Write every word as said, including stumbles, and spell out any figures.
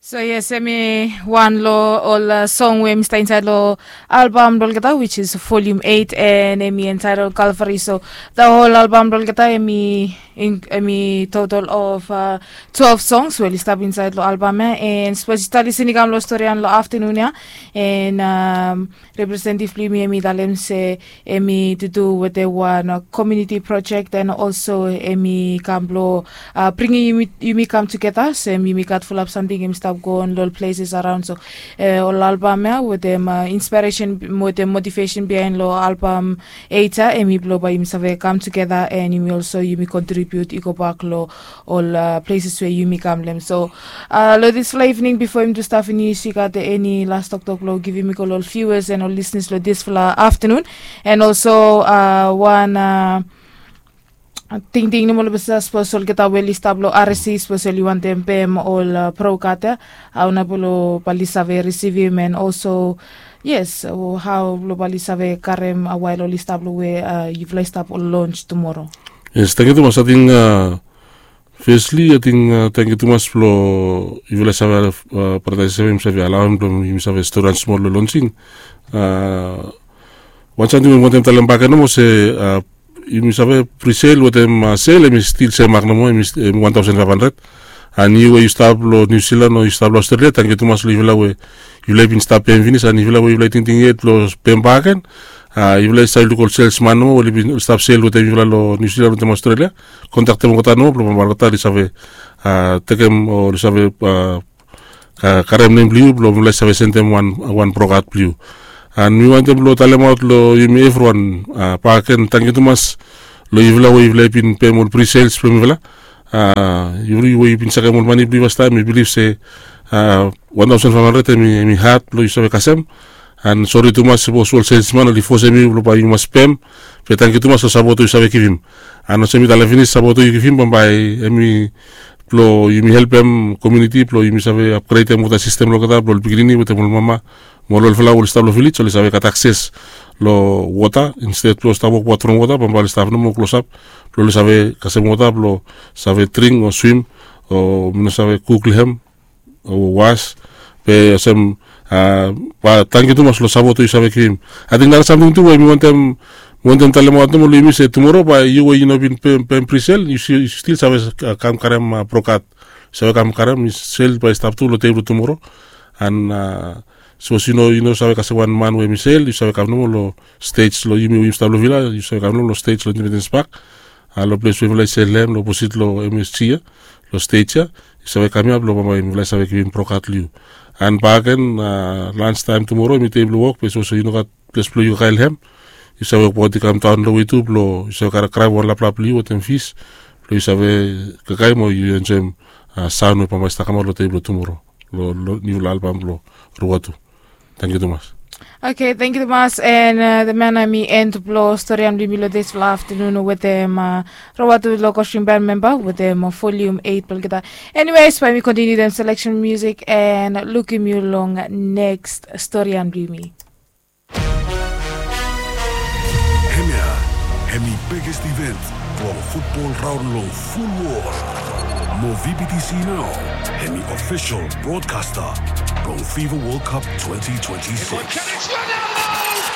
So yes, hemi wan lo ol song we hemi stap insaed lo albam blo olgeta, which is volume eight, and hemi entitled Calvary. So the whole albam blo olgeta hemi total of twelve songs we oli stap insaed lo albam ia. And sapos yu stap lisin i kam lo storian lo aftanun ia, and representative blo yumi hemi talem se hemi to do wetem wan community project, and also hemi kam blo bringim yumi kam tugeta, so yumi gat fulap samting hemi stap go on lo ol places araon. So ol albam ia wetem inspiresen wetem motivesen biaen lo albam eight ia, hemi blo bae yumi save kam tugeta, and yumi also yumi kontribiut i gobak lo ol places we yumi kam lo hem. So lo disfala evening, bifo yumi tu stap finis, yu gat eni las toktok blo givim i go lo ol viewers and ol listeners lo disfala aftanun? And also wan tingting nomo lo besa, sapos olgeta we oli stap lo R S C, sapos oli wantem pem ol prokat ia, hao nao blo bae oli save risivim, and also yes, hao blo bae oli save karem wael oli stap lo we yufala i stap lo lonj tumoro? Yes, tangkiu tumas. Ating fesli, ating tangkiu tumas blo yufala i save, brata i save, yumi save alaoem blo yumi save storian smol lo lonjing. Wan samting we mi wantem talem bakegen nomo se yumi save prisel wetem sel, hemi stil semak nomo, hemi wan taosen faef handred. And yu we yu stap lo Niu Silan o yu stap lo Australia, tangkiu tumas lo yufala we yufala i bin stap pem finis, and yufala we yufala i tingting yet blo pem bakegen, yufala i save luk ol selsman nomo we oli bin stap sel wetem yufala lo Niu Silan wetem Australia. Kontaktem olgeta nomo blo bambae olgeta oli save tekem o oli save karem nem blo yu blo mifala i save sendem wan prokat blo yu. And mi wantem blo talemaot lo yumi evriwan bakegen, tangkiu tumas lo yufala we yufala i bin pem ol prisels blo mifala. Yu we yu bin sekem ol mane blo yu fastaem, mi bilif se wan taosen faef handred hemi had blo yu save kasem. And sori tumas sapos ol selsman oli fosem yu blo bae yu mas pem. Be tangkiu tumas lo sapot we yu save givim. And olsem mi talem finis, sapot we yu givim bambae hemi blo yumi helpem komuniti blo yumi save apgredem wota sistem lo olgeta blo ol pikinini wetem ol mama mo ol olfala we oli stap lo vilej oli save gat akses lo wota, insted blo oli stap wokbaot from wota, bambae oli stap nomo klosap blo oli save kasem wota blo save dring o swim o mi no save kuk lo hem o was. Be olsem, bae tangkiu tumas lo sapot we yu save givim. Ating nara samting tu we mi wantem, mi wantem talemaot nomo lo yumi se tumoro bae yu we yu no bin pem, pem prisel, yu stil save kam karem prokat. Yu save kam karem, sel bae i stap tu lo tebol tumoro. And sapos yu no, yu no save kasem wan man we hemi sel, yu save kam nomo lo stej lo yumi we yumi stap lo Vila, yu save kam nomo lo stej lo Independence Park. Lo ples we mifala i sel lo hem lo oposit lo M S G ia, lo stej ia, yu save kam ia blo bambae mifala i save givim prokat lo yu. And bakegen, lanstaem tumoro hemi dei blo wok, be sapos yu no gat ples blo yu kakae lo hem, yu save wokbaot i kam daon lo we tu blo yu save karae, karae wan laplap blo yu wetem fis blo yu save kakae mo yu enjoem saon we bambae i stap kamaot lo dei blo tumoro lo, lo niufala albam blo Ruwatu. Tangkiu tumas. Okay, tangkiu tumas. And the man hemi end blo storian blo yumi lo disfala aftanun wetem Ruwatu lo Kosrim Band memba wetem volume eight blo olgeta. Anyways, bae mi kontiniu wetem seleksen musik and lukim yu long neks storian blo yumi. Hemia hemi biggest event blong futbol raon long ful wol. Mo V B T C nao hemi ofisol brodkasta blong FIFA World Cup twenty twenty-six.